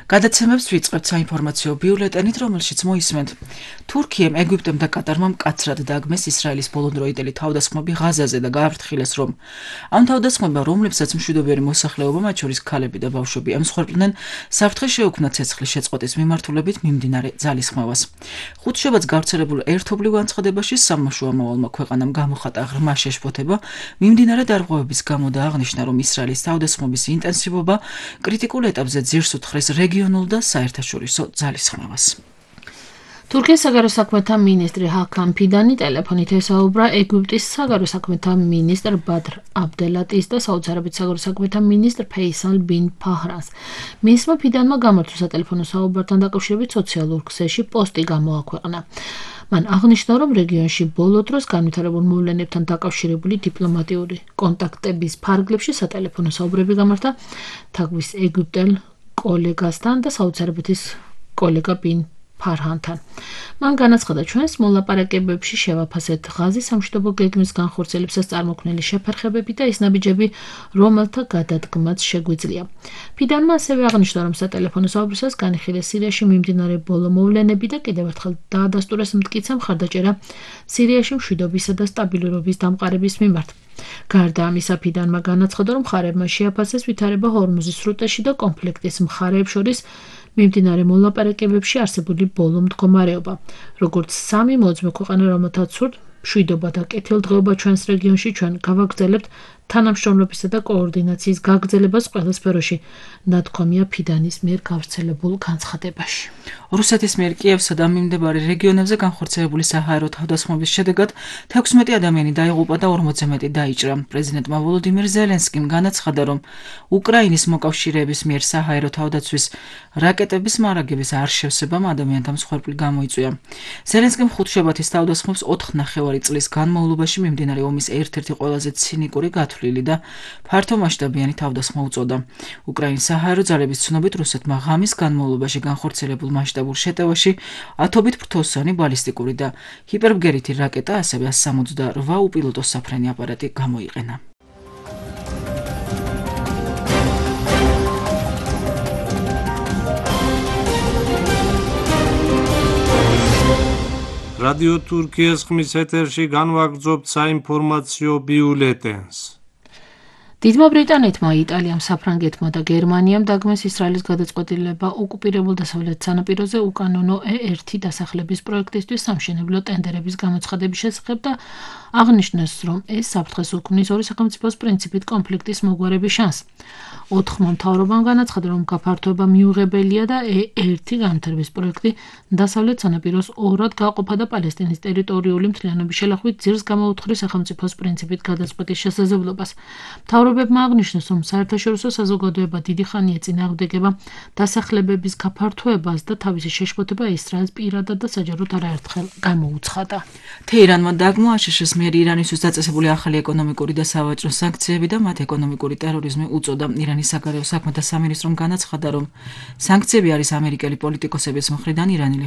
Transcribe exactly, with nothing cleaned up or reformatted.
გადაცემებს ვიწყებთ საინფორმაციო ბიულეტენით, რომელშიც მოისმენთ. თურქიამ, ეგვიპტემ და კატარმა მკაცრად დაგმეს ისრაელის ბოლოდროინდელი თავდასხმები ღაზაზე და გააფრთხილეს, რომ ამ თავდასხმებმა, რომლებსაც მშვიდობიანი მოსახლეობა, მათ შორის ქალები და ბავშვები ემსხვერპლნენ, საფრთხე შეუქმნა ცეცხლის შეწყვეტის მიმართულებით მიმდინარე ძალისხმევას. ხუთშაბათს გავრცელებულ ერთობლივ განცხადებაში სამოშუო ამავალმა ქვეყანამ გამოხატა ღრმა შეშფოთება მიმდინარე დარღვევების გამო და აღნიშნა, რომ ისრაელის თავდასხმების ინტენსივობა კრიტიკულ ეტაპზე ძირს უთხრეს რეგიონულ და საერთაშორისო ძალისხმევას. თურქეთის საგარეო საქმეთა მინისტრი ჰაკან ფიდანი ტელეფონით ესაუბრა ეგვიპტის საგარეო საქმეთა მინისტრ ბადრ აბდელატის და საუდის არაბეთის საგარეო საქმეთა მინისტრ ფეისალ ბინ ფაჰრას. მინისტრმა ფიდანმა გამართულ სატელეფონო საუბართან დაკავშირებით სოციალურ ქსელში პოსტი გამოაქვეყნა. მან აღნიშნა, რომ რეგიონში ბოლო დროს განვითარებულ მოვლენებთან დაკავშირებული დიპლომატიური კონტაქტების ფარგლებში სატელეფონო საუბრები გამართა თაგვის ეგვიპტელ კოლეგასთან და საუდის არაბეთის კოლეგა ბინ ფარჰანთან. მან განაცხადა, ჩვენს მოლაპარაკებებში შევაფასეთ ღაზის სამშვიდობო გეგმის განხორციელებისას წარმოქმნილი შეფერხებები და ის ნაბიჯები, რომელთა გადადგმაც შეგვიძლია. ფიდანმა ასევე აღნიშნა, რომ სატელეფონო საუბრისას განიხილეს სირიაში მიმდინარე ბოლო მოვლენები და კიდევ ერთხელ დაადასტურეს მტკიცე მხარდაჭერა სირიაში მშვიდობისა და სტაბილურობის დამყარების მიმართ. გარდა ამისა, ფიდანმა განაცხადა, რომ მხარეებმა შეაფასეს ვითარება ჰორმუზის სრუტეში და კონფლიქტის მხარეებს შორის მიმდინარე მოლაპარაკებებში არსებული ბოლო მდგომარეობა. როგორც სამი მოძმე ქვეყანა, რომელთაც სურთ მშვიდობა და კეთილდღეობა ჩვენს რეგიონში, ჩვენ გავაგრძელებთ თანამშრომლობისა და კოორდინაციის გაგრძელებას ყველა სფეროში, ნათქვამია ფიდანის მიერ გავრცელებულ განცხადებაში. რუსეთის მიერ კიევსა და მიმდებარე რეგიონებზე განხორციელებული საჰაერო თავდასხმების შედეგად თექვსმეტი ადამიანი დაიღუპა და ორმოცზე მეტი დაიჭრა. პრეზიდენტმა ვოლოდიმირ ზელენსკიმ განაცხადა, რომ უკრაინის მოკავშირეების მიერ საჰაერო თავდაცვის რაკეტების მარაგების არ შევსებამ ადამიანთა მსხვერპლი გამოიწვია. ზელენსკიმ ხუთშაბათის თავდასხმებს ოთხ ნახევარი წლის განმავლობაში მიმდინარე ომის ერთ-ერთი ყველაზე ცინიკური გათვლილი და ფართომასშტაბიანი თავდასხმა უწოდა. უკრაინის საჰაერო ძალების ცნობით, რუსეთმა ღამის განმავლობაში განხორციელებულ მასშტაბურ შეტევაში ათობით ფრთოსანი ბალისტიკური და ჰიპერბგერითი რაკეტა, ასევე ასს სამოცდაორვა უპილოტო საფრენი აპარატი გამოიყენა. რადიო თურქიის ხმის ეთერში განვაგრძობთ საინფორმაციო ბიულეტენს. დიდმა ბრიტანეთმა, იტალიამ, საფრანგეთმა და გერმანიამ დაგმეს ისრაელის გადაწყვეტილება ოკუპირებულ დასავლეთ სანაპიროზე უკანონო ე ერთი დასახლების პროექტისთვის სამშენებლო ტენდერების გამოცხადების შესახებ და აღნიშნეს, რომ ეს საფრთხეს უქმნის ორი სახელმწიფოს პრინციპით კონფლიქტის მოგვარების შანსს. ოთხმა მთავრობამ განაცხადა, რომ გაფართოება მიუღებელია და ე ერთი განვითარების პროექტი დასავლეთ სანაპიროს ორად გაყოფა და პალესტინის ტერიტორიული მთლიანობის შელახვით ძირს გამოუთხრის სახელმწიფოს პრინციპით გადაწყვეტის შესაძლებლობას. მთავრობებმა აღნიშნეს, რომ საერთაშორისო საზოგადოება დიდი ხანია წინააღმდეგება დასახლებების გაფართოებას და თავისი შეშფოთება ისრაელს პირადად და საჯაროდ არაერთხელ გამოუცხადა. თეირანმა დაგმო აშშ-ს მიერ ირანისთვის დაწესებული ახალი ეკონომიკური და სავაჭრო სანქციები და მათ ეკონომიკური ტერორიზმი უწოდა. ირანის საგარეო საქმეთა სამინისტრომ განაცხადა, რომ სანქციები არის ამერიკელი პოლიტიკოსების მხრიდან ირანელი